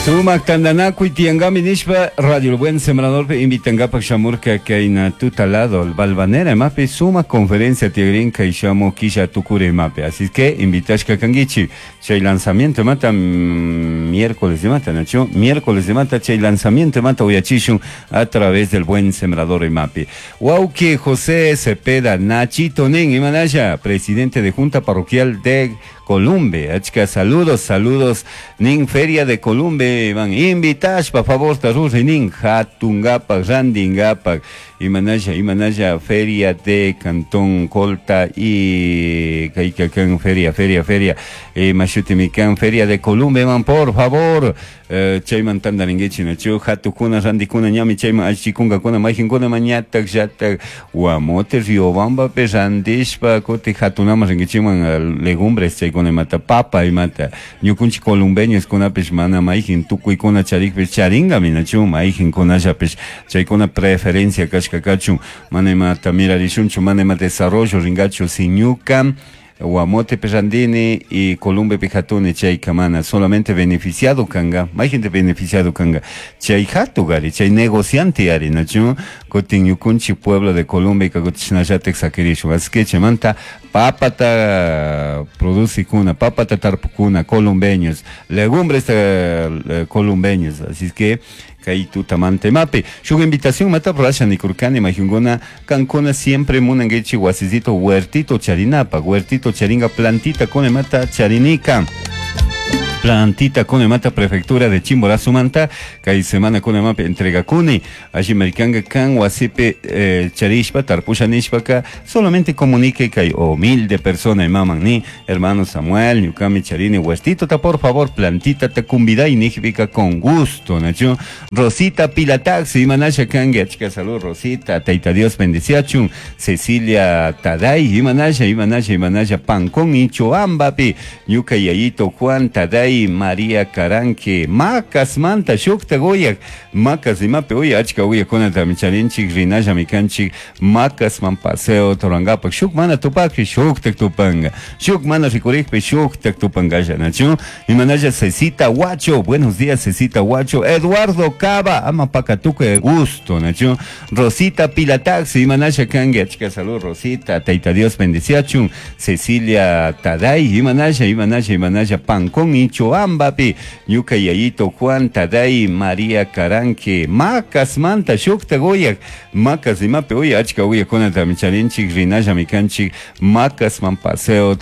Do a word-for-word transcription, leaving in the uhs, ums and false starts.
Sumak tantanakuy tiyankami nishpa Radio El Buen Sembrador invitankapaj shamurka kayna tutalado Balvanera imapi sumak conferencia tiyagrin shamu killa tukuri imapi. Así que invitashka kankichik chay lanzamiento imata miércoles imata nachu miércoles imata chay lanzamiento imata uyachishun a través del Buen Sembrador imapi. Wauki José Cepeda Nachito nin imanalla presidente de Junta Parroquial de Columbe. Achka saludos, saludos nin Feria de Columbe van invitashpa favor taruri nin hatungapak randingapak imanalla imanalla Feria de Cantón Colta y kaykakan feria feria feria eh, mashutimikan Feria de Columbe man por favor eh, chayman tantarinkichik nachu hatukuna rantikuna ñami chayman allchikunkakuna mayqinkuna mañatak llatak Guamote Riobambapi rantishpa kutin hatunaman rinkichikman legumbres chaykuna imata papa imata ñukunchik columbeños kunapish mana mayqin tukuykuna charikpish charinkami nachu mayqinkunallapish chaykuna preferencia kashka kachun mana imata mirarishunchu mana ima desarrollo rinkachu si ñuka Guamote rantini y Columbe hatuni chayka mana solamente beneficiado kanga mayqinta beneficiado kanga chay hatugari chay negociante ari nachu kutin ñukunchik pueblo de Columbe kutin sakirishun así que chaymanta papata producikuna papata tarpukuna columbeños legumbres eh, columbeños así que kay tutamanta imapi shuk invitación mata rurasha nikurkani mayqinkuna kankuna siempre munankichik wasisito huertito charinapak huertito charinga plantita kuna imata charinika plantita kuna imata prefectura de Chimborazo-manta kay semana kuna imapi entregakuni alli maykanka kan wasipi eh, charishpa tarpusha nishpaka solamente comunique kay humilde persona imaman ni hermano Samuel ñukami charini huertito ta por favor plantita ta kumbiday nijpika con gusto nachu Rosita Pilataxi imanasha kanki achka salud Rosita Tayta Dios bendiciachun Cecilia Taday imanasha imanasha imanasha Pancón Ichoambapi ñuka yayito Juan Taday María Caranque Macas manta shukta uyak Macas imapi uya achka uyakunatami charinchik rinallami kanchik Macasman paseo rurankapak shuk mana tupakpi shuktak tupanka shuk mana rikurikpi shuktak tupankalla nachu imanalla Cecita Huacho buenos días Cecita Huacho Eduardo Cava ama pakatuka gusto nachu Rosita Pilataxi imanalla kanki achka salud Rosita Tayta Dios bendiciachun Cecilia Taday imanalla imanalla imanalla Pancón Ichoambapi ñuka yayito Juan Taday María Caranque Macas manta shukta uyak Macas imapi uya achka uyakunatami charinchik rinallami kanchik Macasman paseo